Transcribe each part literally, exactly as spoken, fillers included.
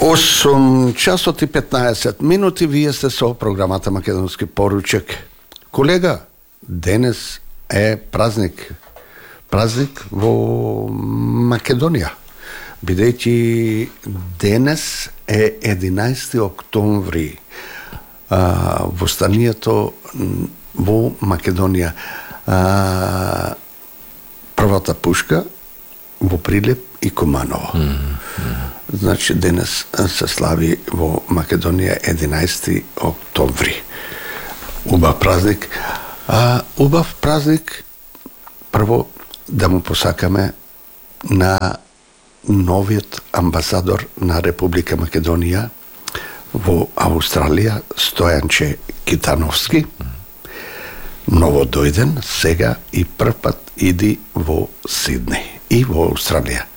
осум часот и петнаесет минути, вие сте со програмата Македонски поручек. Колега, денес е празник. Празник во Македонија. Бидејќи денес е единаесети октомври, а, востанието во Македонија. А, првата пушка во Прилеп и Куманово. Mm-hmm. Значи, денес се слави во Македонија единаесети октомври. Убав празник. А, убав празник, прво да му посакаме на новиот амбасадор на Република Македонија во Австралија, Стојанче Китановски. Ново дојден, сега и прв пат иди во Сиднеј и во Австралија.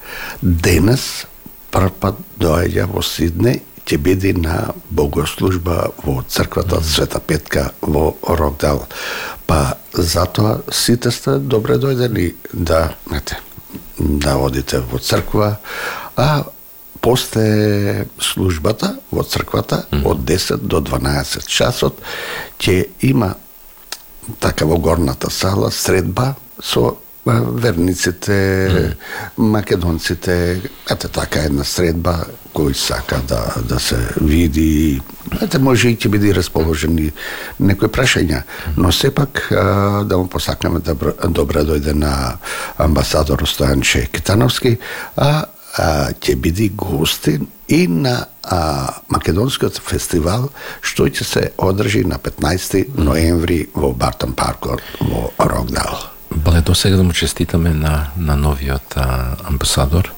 Денес прв пат доаѓа во Сиднеј, ќе биде на богослужба во црквата Света Петка во Рокдал. Па затоа сите сте добре дојдени да, ете, да одите во црква, а после службата во црквата од десет до дванаесет часот ќе има така во горната сала средба со верниците, mm. македонците, ете така една средба кој сака да, да се види, ете може и ќе биде расположени некои прашања, но сепак а, да му посакнеме добро, добре дојде на амбасадор Стојанче Китановски, а, а ќе биде гостин и на а, Македонскиот фестивал што ќе се одржи на петнаесети ноември во Бартон паркот во Рокдал. Бале, до сега да му честитаме на, на новиот а, амбасадор,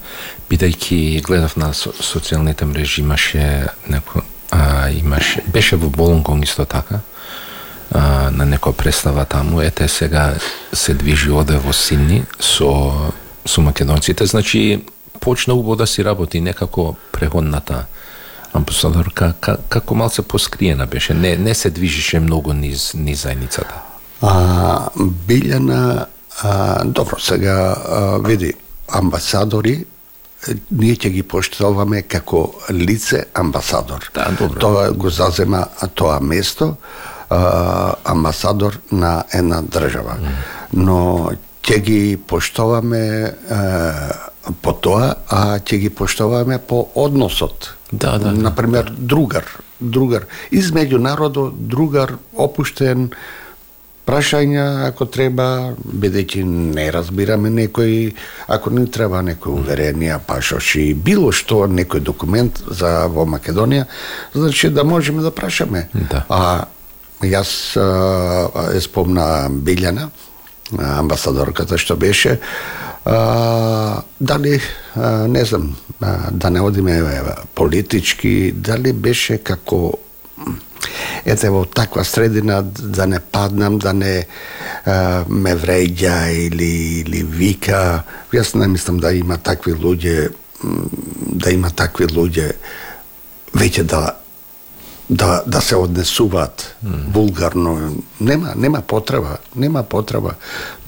бидејќи гледав на со, социјалните мрежи, имаше неко, а, имаше, беше во Болонгонг исто така, а, на некоја представа таму, ете сега се движи оде во Сидни со, со македонците, значи почна убаво да си работи, некако преходната амбасадорка, ка, како малце поскриена беше, не, не се движише многу низ, низ заедницата. А, Билјана, а, добро, сега а, види, амбасадори, ние ќе ги поштоваме како лице амбасадор. Да, добро. Тоа го зазема тоа место, а, амбасадор на една држава. Mm. Но ќе ги поштоваме а, по тоа, а ќе ги поштоваме по односот. Да, да. Например, да. другар, другар измеѓу народот, другар опуштен, прашања ако треба, бидејќи не разбираме некој, ако не треба некој уверенија, пашоши, било што, некој документ за во Македонија, значи да можеме да прашаме. Да. А јас а, е спомна Билјана, амбасадорката што беше, а, дали, а, не знам, а, да не одиме политички, дали беше како ете во таква средина да не паднам, да не а, ме вреѓа или, или вика. Јас не мислам да има такви луѓе, да има такви луѓе веќе да да да се однесуваат mm. вулгарно. Нема нема потреба, нема потреба.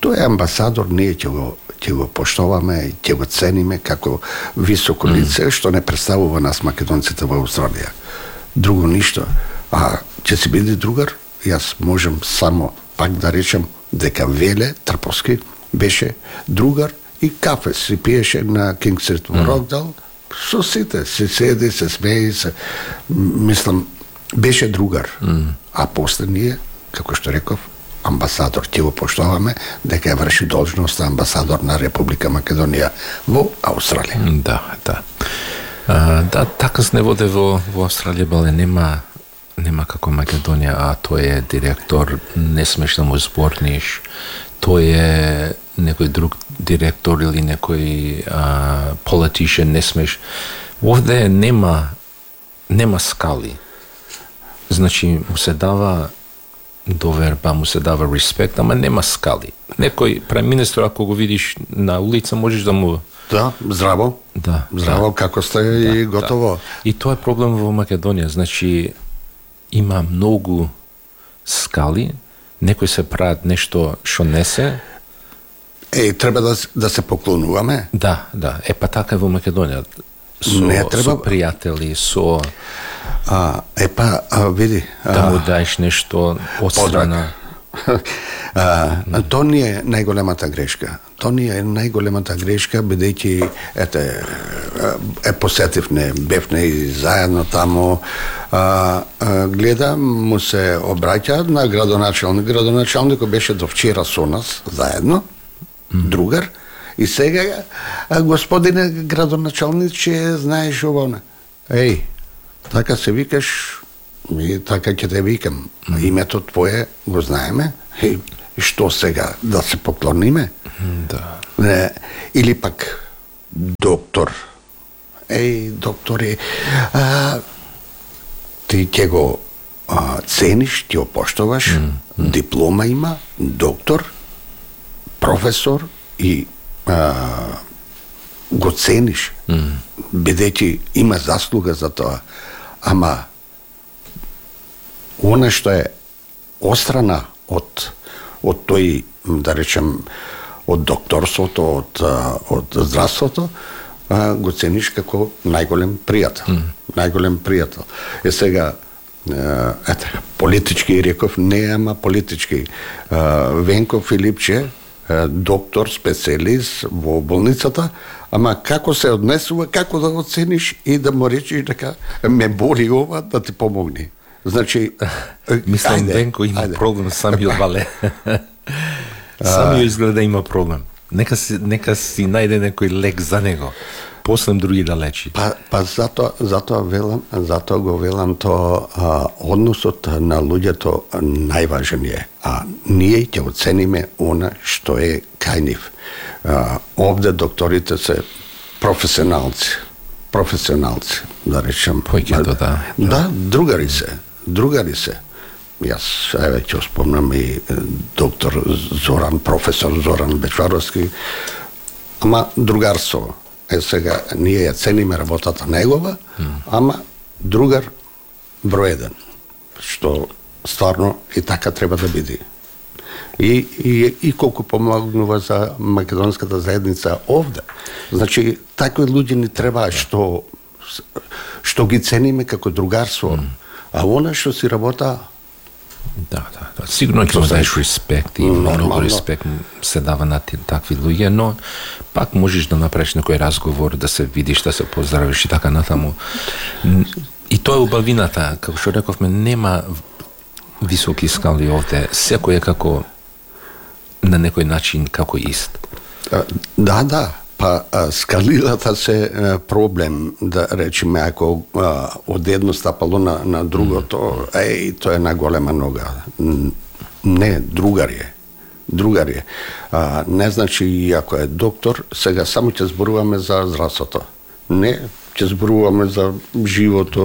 Тој е амбасадор, ние ќе го ќе го поштоваме, ќе го цениме како високо лице mm. што не представува нас македонците во Австралија. Друго ништо. А ќе си биде другар, јас можам само пак да речем дека Веле Трповски беше другар и кафе си пиеше на Кинг Стрит во Рокдал, со сите, се седи, се смеи, се, мислам, беше другар. Mm. А после ние, како што реков, амбасадор, ќе го поштоваме дека ја врши должност амбасадор на Република Македонија во Австралија. Да, да. А, да, така се не воде во, во Австралија, бале, нема нема како Македонија, а тој е директор, не смеш да му зборниш, тој е некој друг директор или некој а, политичен, не смеш. Овде нема нема скали. Значи, му се дава доверба, му се дава респект, ама нема скали. Некој преминистр, ако го видиш на улица, можеш да му... Да, здраво. Да. Здраво, да. како сте да, и готово. Да. И тоа е проблем во Македонија. Значи, има многу скали, некои се прават нешто што не се. Е, треба да, да се поклонуваме. Да, да. Е, па така е во Македонија. со, не треба со пријатели, со а епа а, види да му даеш нешто одстрана. А, то не е најголемата грешка. То не е најголемата грешка, бидејќи ете е посетивне, бевне и заедно таму. А, а, гледам, му се обраќа на градоначалник. Градоначалникот беше до вчера со нас заедно, другар. И сега, а, господине градоначалниче, знаеш ово. Еј, така се викаш, и така ќе те викам. Mm. Името твое го знаеме. И што сега, да се поклониме? Да. Не, или пак доктор. Еј, доктори, а, ти ќе го а, цениш, ти го поштоваш, mm. Mm. диплома има, доктор, професор и а, го цениш, mm. бидејќи има заслуга за тоа. Ама она што е острана од од тој, да речем, од докторството, од од здравството, а, го цениш како најголем пријател. Mm. Најголем пријател. Е сега ете, политички реков, не ама политички. Венко Филипче, доктор, специјалист во болницата, ама како се однесува, како да го цениш и да му речеш дека ме боли ова, да ти помогне. Значи, мислам, Венко има ајде. Проблем самиот Вале. Самиот изгледа има проблем. Нека си, нека си најде некој лек за него. После други да лечи. Па, па затоа, затоа велам, затоа го велам то а, односот на луѓето најважен е. А ние ќе оцениме она што е кај нив. А, овде докторите се професионалци. Професионалци, да речем. Појќето, да. Да, другари се. Другари се. Јас еве ќе спомнам и доктор Зоран, професор Зоран Бечваровски, ама другарство. Е сега ние ја цениме работата негова, mm. ама другар број еден, што стварно и така треба да биде. И, и, и колку помогнува за македонската заедница овде. Значи, такви луѓе ни треба што што ги цениме како другарство. Mm. А она што си работа, да, да, да. Сигурно ќе му даеш респект и многу респект се дава на такви луѓе, но пак можеш да направиш некој разговор, да се видиш, да се поздравиш и така натаму. И тоа е убавината, како што рековме, нема високи скали овде, секој е како на некој начин како ист. Да, да. Па скалилата се проблем, да речеме, ако а, од едно стапало на, на другото, mm. еј, тоа е на голема нога. Не, другар е. Другар е. А, не значи, и ако е доктор, сега само ќе зборуваме за здравството. Не, ќе зборуваме за живото,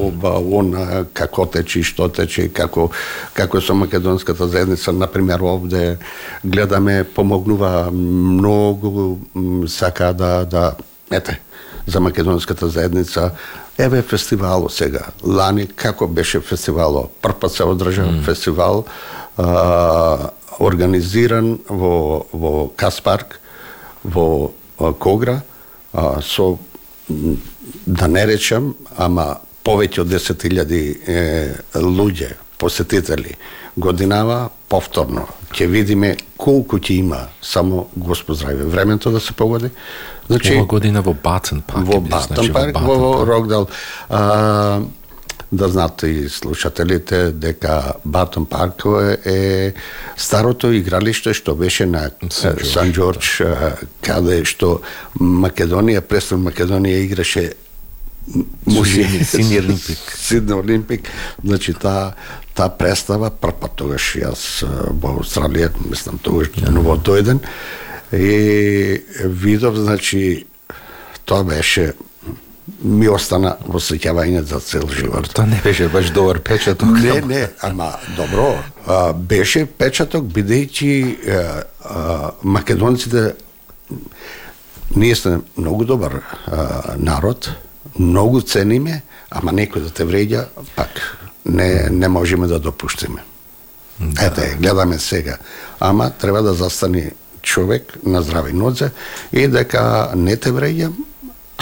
оба, она, како тече, што тече, како, како со македонската заедница, например, овде гледаме, помогнува многу, сака да, да, ете, за македонската заедница. Еве фестивало сега. Лани, како беше фестивало? Прв пат се одржа mm. фестивал, а, организиран во, во Каспарк, во а, Когра, а, со да не речам, ама повеќе од десет илјади луѓе, посетители. Годинава повторно ќе видиме колку ќе има, само Господ здраве, времето да се погоди. Значи, ова година во Батен парк. Во Батен значи, парк, во, во Рокдал. А, да знаат и слушателите дека Батен парк е старото игралиште што беше на Сан Џорџ, каде што Македонија, престон Македонија играше Сидни Олимпик. Сидни Олимпик. Значи таа та представа прв пат тогаш јас во Австралија, мислам тогаш ново дојден и видов, значи тоа беше, ми остана во сеќавање за цел живот. Тоа не беше баш добар печаток. Не, не, ама добро. А, беше печаток, бидејќи македонците, ние сме многу добар а, народ, многу цениме, ама некој да те вреѓа, пак не, не можеме да допуштиме. Да. Ете, гледаме сега. Ама треба да застане човек на здрави нозе и дека не те вреѓам,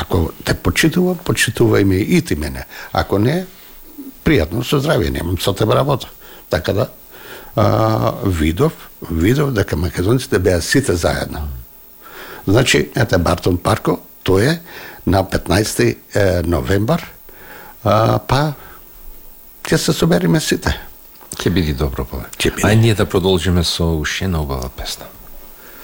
Ако те почитувам, почитувај ме и ти мене. Ако не, пријатно, со здравје, немам со тебе работа. Така да, а, видов, видов дека македонците беа сите заедно. Значи, ете Бартон Парко, тој е на петнаесети новембар, а, па ќе се собериме сите. Ќе биде добро, па. Ќе биде. Ај ние да продолжиме со уште една убава песна.